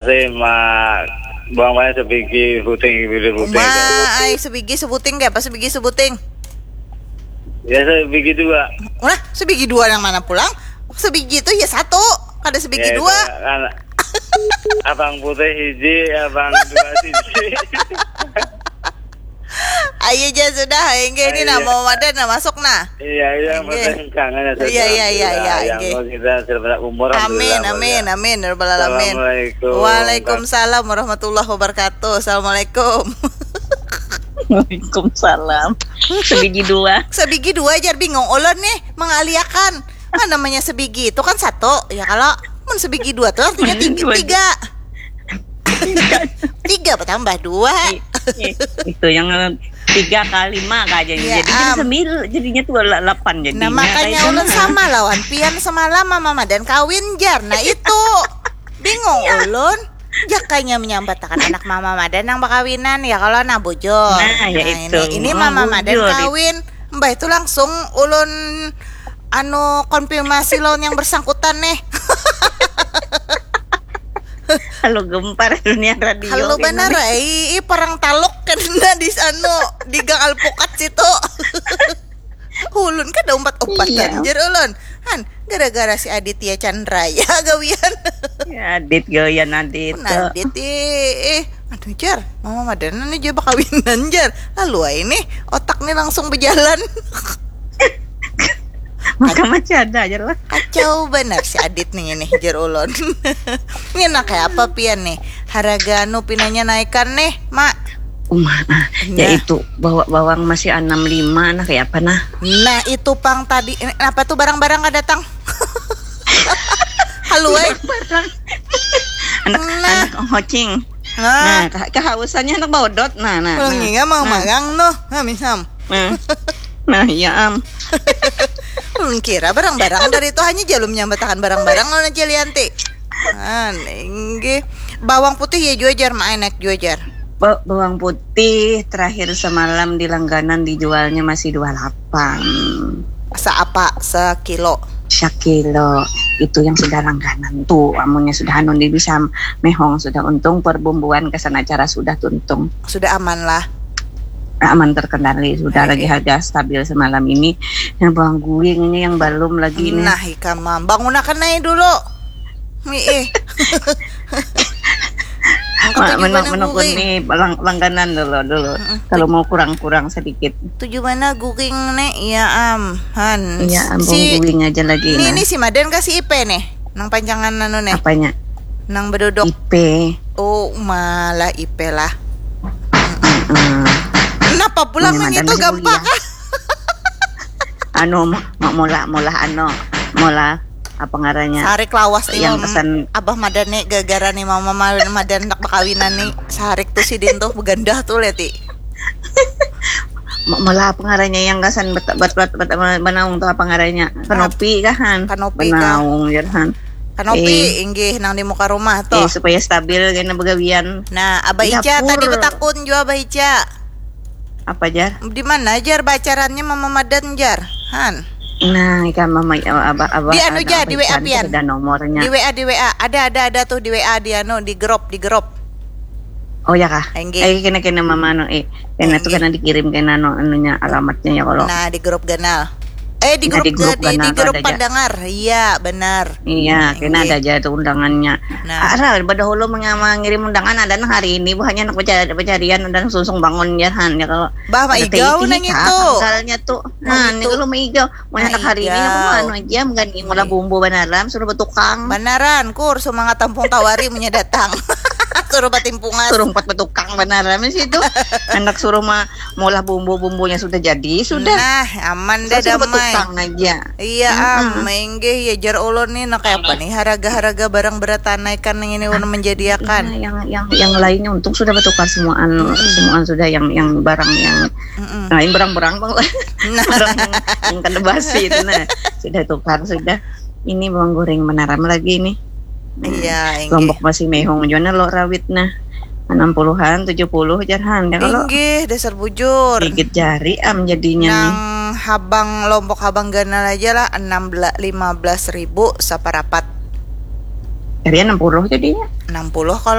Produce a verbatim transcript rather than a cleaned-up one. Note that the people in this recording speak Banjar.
Sih, ma, bang mana sebigi puting, bibir puting. Ma, ai sebigi sebuting, kayak apa sebigi sebuting? Ya, sebigi dua. Nah, sebigi dua yang mana pulang? Sebigi itu ya satu, kada sebigi Ya, dua. Itu kan abang putih hiji, abang dua siji. Ayo ja sudah, enggak ini Ayo. Nama Madan nah masuk nah. Iya, iya, Oke. Madan kangen ya. Iya, iya, iya, iya, Yang oke. Mau kita selamat umur. Amin, Alhamdulillah, amin, Madan. Amin, ya rabbal alamin. Assalamualaikum. Waalaikumsalam warahmatullahi wabarakatuh. Assalamualaikum. Waalaikumsalam. Sebigi dua. Sebigi dua jar bingung ulun nih mengaliakan. Kan namanya sebigi itu kan satu, ya kalau mun sebigi dua tuh artinya tiga. Dua. Tiga, tiga bertambah dua. I- i- itu yang tiga kali lima aja. Iya, Jadi jadi am. Sembilan, jadinya tuh delapan jadinya. Nah makanya Kayak ulun gimana? Sama lawan pian semalam Mama Madan kawin jar. Nah itu bingung ulun. Jakanya menyambat akan anak Mama Madan yang bakawinan ya kalau nah bujur. Nah, ya Nah, itu. Ini, ini Oh, Mama Madan bujur. Kawin. Mbah itu langsung ulun anu konfirmasi lawan yang bersangkutan nih. Halo gempar dunia radio. Halo kayak benar gimana? Ai, ih, perang taluk kena di anu di gang alpukat situ. Ulun kada umpat-umpatan Iya. Jar ulun. Han, gara-gara si Aditya Chandra ya gawian. Ya, Adit gawian Adit. Nah, Adit ih, ih. Aduh Jar, Mama Madan nih Jar bakawinan Jar. Lalu ai nih otak nih langsung berjalan. Maka masih ada aja lah. Kacau benar si Adit nih ini Jar ulun. Ini nak kayak apa pian nih? Harga anu pinanya naikan nih, Mak. Uma, ah, Nah. Yaitu bawa bawang masih enam lima nah kayak apa nah? Nah, itu pang tadi eh, apa tuh barang-barang kada datang? Halo, eh. Anak Nah. anak hocing. Nah, Nah, ke- kehausannya anak bawa dot. Nah, nah. kalau Nah. nginga mau Nah. Magang noh, nah misam. Nah. Nah, iya am. Ulun kira barang-barang dari itu hanya jalum nyambatakan barang-barang lawan Cilianti. Nah, inggih. Bawang putih ya jua jar, mak enak jua jar. Ba- bawang putih terakhir semalam di langganan dijualnya masih dua lapan. Seapa sekilo? Sakilo itu yang sudah langganan tuh, amunnya sudah anu di bisa mehong sudah untung perbumbuan kesan acara sudah tuntung. Sudah aman lah. Aman terkendali sudah Oke. Lagi harga stabil semalam ini. Yang bawang guing ini yang belum lagi ini. Nah, ikam mam. Bangunakan aja dulu. Ih. Aku Ma- tuju menuk banar menuk guring. Ini lang- langganan dulu dulu. Mm-mm. Kalau mau kurang-kurang sedikit. Tuju mana guring nih? Iya am. Han. Iya, ambung Si guing aja lagi ini nah. Ini si Madan kasih I P nih. Nang panjangan anu nih. Apanya? Nang bedodok. I P. Oh, malah I P lah. Heeh. Kenapa pulang Ini nang Madan itu masih gampang? Kuliah. Anu mau mau mola mola anu mola apa ngarannya? Sarik lawas nih Yang Mam. Pesan Abah Madan nih gara-gara nih Mama Madan, Madan nak bakawinan nih. Sarik tuh sidin tuh begandah tuh leti. Mo- mola apa ngarannya yang gasan bet bet bet, bet, bet banaung tuh apa ngarannya? Kanopi kah han? Kanopi kah? Banaung jar han. Kanopi Eh. Inggih nang di muka rumah tuh. Eh, supaya stabil kena begawian. Nah, Abah Iya, Ica tadi pur. Betakun jua Abah Ica. Apa jar? Di mana jar bacarannya Mama Madan jar? Han. Nah, ikan mama abah abah Di anu ja, di W A Ican pian. Ada nomornya. Di W A, di W A. Ada, ada, ada tuh di W A di anu, di grup, di grup. Oh ya kah? Enggih. Eh kena kena mama anu eh. Kena tuh Enggih. Kena dikirim kena anu anunya alamatnya ya kalau. Nah, di grup ganal. Eh, di Nah, grup di grup ga- di, di ganal grup ada ja. Pandangar. Iya, benar. Iya, kena Enggih. Ada aja tuh undangannya. Nah. Ara pada hulu mengirim undangan ada nang hari ini bukannya anak pencari pencarian dan sungsung bangun ya han ya kalau. Bah, Mak Ada Igau titi, nang kah, itu. Tanggalnya tuh. Nang Nah, itu. Ini kalau Mak Igau, mau Mak anak hari ini Igau. aku anu aja mengani mula Iya. Bumbu banaram suruh betukang. Banaran, kur semangat tampung tawari punya datang. Suruh batimpungas. Suruh empat betukang banaram sih itu. Anak suruh mah molah bumbu-bumbunya sudah jadi sudah. Nah, aman dah Suruh damai. Betukang aja. Iya Mm-mm. am, menggih ya jar ulun nih, nah kayak apa nih harga-harga barang beratanaikan yang ini ulun menjadiakan. Nah, yang yang yang lainnya untung sudah bertukar semuaan Mm-mm. semuaan sudah yang yang barang yang Mm-mm. lain barang-barang bang Nah. Barang yang, yang kada basi itu nah sudah tukar sudah ini bawang goreng menaram lagi nih. Nah, Iya, inggih. Lombok masih mehong juga nah lo rawit nah enam puluhan tujuh puluh jarhan ya kalau Inggih, dasar bujur. Gigit jari am jadinya nih. Nang habang Lombok habang ganal aja lah enam belas lima belas ribu saparapat. Area enam puluh jadinya. Enam puluh kalau